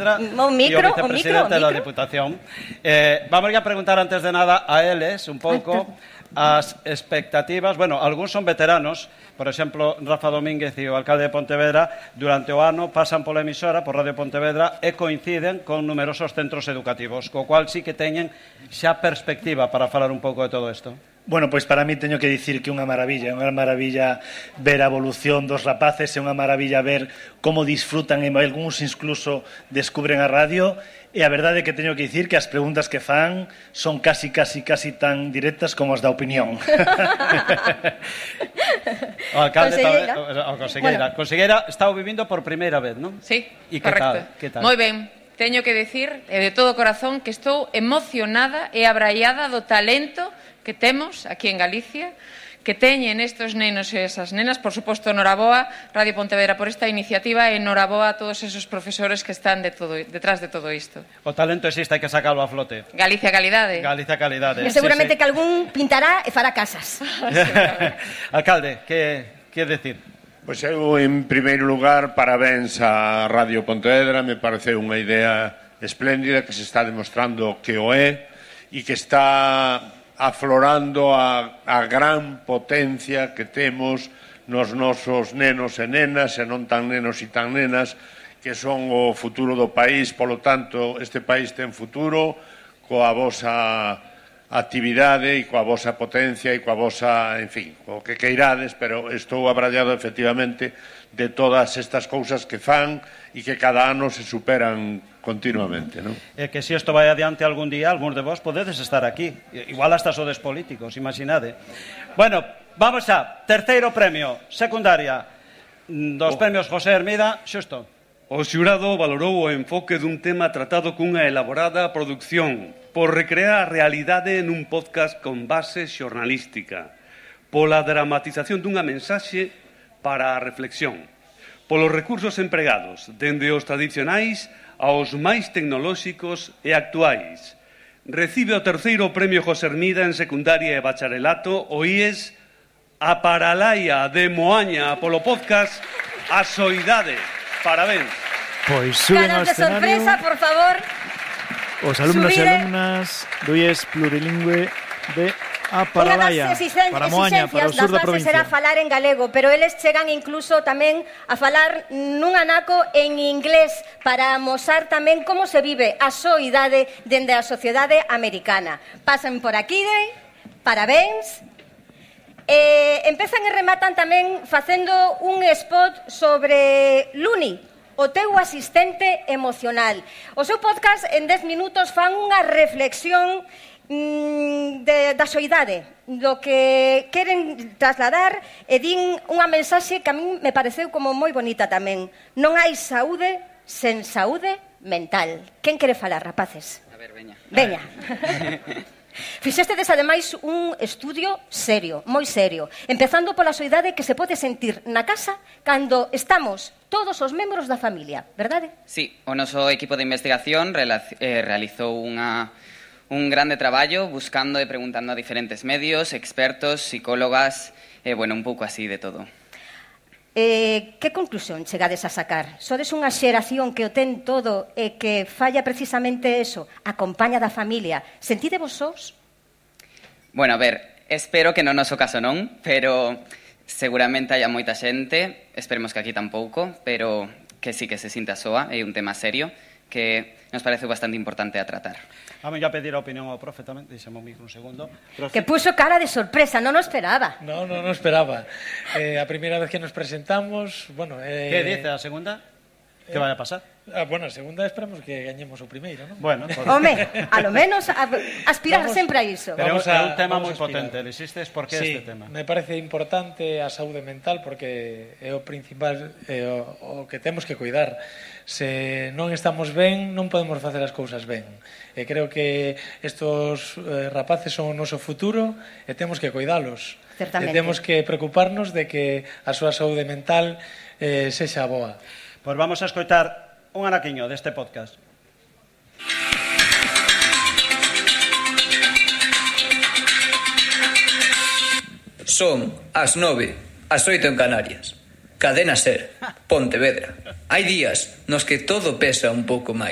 O micro, o vicepresidente da Diputación. Vamos a preguntar antes de nada a eles un pouco as expectativas. Bueno, algúns son veteranos. Por exemplo, Rafa Domínguez e o alcalde de Pontevedra durante o ano pasan pola emisora, por Radio Pontevedra, e coinciden con numerosos centros educativos, co cual sí que teñen xa perspectiva para falar un pouco de todo isto. Bueno, pois para mí teño que dicir que é unha maravilla ver a evolución dos rapaces, é unha maravilla ver como disfrutan e algúns incluso descubren a radio, e a verdade é que teño que dicir que as preguntas que fan son casi tan directas como as da opinión. O alcalde Conselleira está vivindo por primeira vez, non? Sí, correcto. Que tal? Moi ben. Teño que dicir, de todo corazón, que estou emocionada e abraiada do talento que temos aquí en Galicia, que teñen estes nenos e esas nenas. Por suposto, noraboa Radio Pontevedra por esta iniciativa e noraboa a todos esos profesores que están detrás de todo isto. O talento existe, hai que sacarlo a flote. Galicia calidade. Galicia calidade. E seguramente que algún pintará e fará casas. Alcalde, que decir? Pois eu, en primeiro lugar, parabéns a Radio Pontevedra. Me parece unha idea espléndida que se está demostrando que o é e que está aflorando a gran potencia que temos nos nosos nenos e nenas, e non tan nenos e tan nenas, que son o futuro do país. Polo tanto, este país ten futuro coa vosa actividade e coa vosa potencia e coa vosa, en fin, o que queirades, pero estou abrallado efectivamente de todas estas cousas que fan e que cada ano se superan continuamente, non? É que se isto vai adiante algún día, algúns de vos podedes estar aquí. Igual hasta sodes políticos, imaginade. Bueno, vamos a terceiro premio, secundaria dos premios José Hermida, xusto. O xurado valorou o enfoque dun tema tratado cunha elaborada produción, por recrear a realidade nun podcast con base xornalística, pola dramatización dunha mensaxe para a reflexión, polos recursos empregados, dende os tradicionais aos máis tecnolóxicos e actuais. Recibe o terceiro premio José Hermida en secundaria e bacharelato o IES A Paralaia de Moaña polo podcast A Soidade. Parabéns. Pois suben ao Caras de escenario sorpresa, por favor. os alumnos e Subide. alumnas do IES plurilingüe de A Paralaia, para Moaña, para o sur da provincia. Será falar en galego, pero eles chegan incluso tamén a falar nun anaco en inglés para amosar tamén como se vive a soidade dende a sociedade americana. Pasan por aquí, parabéns. Empezan e rematan tamén facendo un spot sobre Luni, o teu asistente emocional. O seu podcast en 10 minutos fan unha reflexión da soidade, do que queren trasladar, e din unha mensaxe que a mí me pareceu como moi bonita tamén. Non hai saúde sen saúde mental. Quen quere falar, rapaces? A ver, veña. Veña. Fixestedes ademais un estudio serio, moi serio, empezando pola soidade que se pode sentir na casa cando estamos todos os membros da familia, verdade? Sí, o noso equipo de investigación realizou un grande traballo buscando e preguntando a diferentes medios, expertos, psicólogas, bueno, un pouco así de todo. Que conclusión chegades a sacar? Sodes unha xeración que o ten todo e que falla precisamente eso, acompaña da familia. Sentidevos sós? Bueno, a ver, espero que no noso caso non, pero seguramente haya moita xente, esperemos que aquí tampouco, pero que sí que se sinta soa, é un tema serio que nos parece bastante importante a tratar. Vamos a pedir a opinión ao profe tamén, deixame o micro un segundo. Profe. Que puso cara de sorpresa, non o esperaba. Non esperaba. A primeira vez que nos presentamos, bueno... Que dice a segunda? Que vai a pasar? Bueno, a segunda esperamos que gañemos o primeiro, non? Bueno, home, a lo menos aspirar sempre a iso. Pero é un tema moi potente, insistes, por que este tema? Sí, me parece importante a saúde mental porque é o principal, o que temos que cuidar. Se non estamos ben, non podemos facer as cousas ben. E creo que estos rapaces son o noso futuro e temos que cuidalos. Certamente. E temos que preocuparnos de que a súa saúde mental sexa boa. Pois vamos a escoitar un anaquiño deste podcast. Son as 9, as 8 en Canarias. Cadena Ser, Pontevedra. Hai días nos que todo pesa un pouco máis.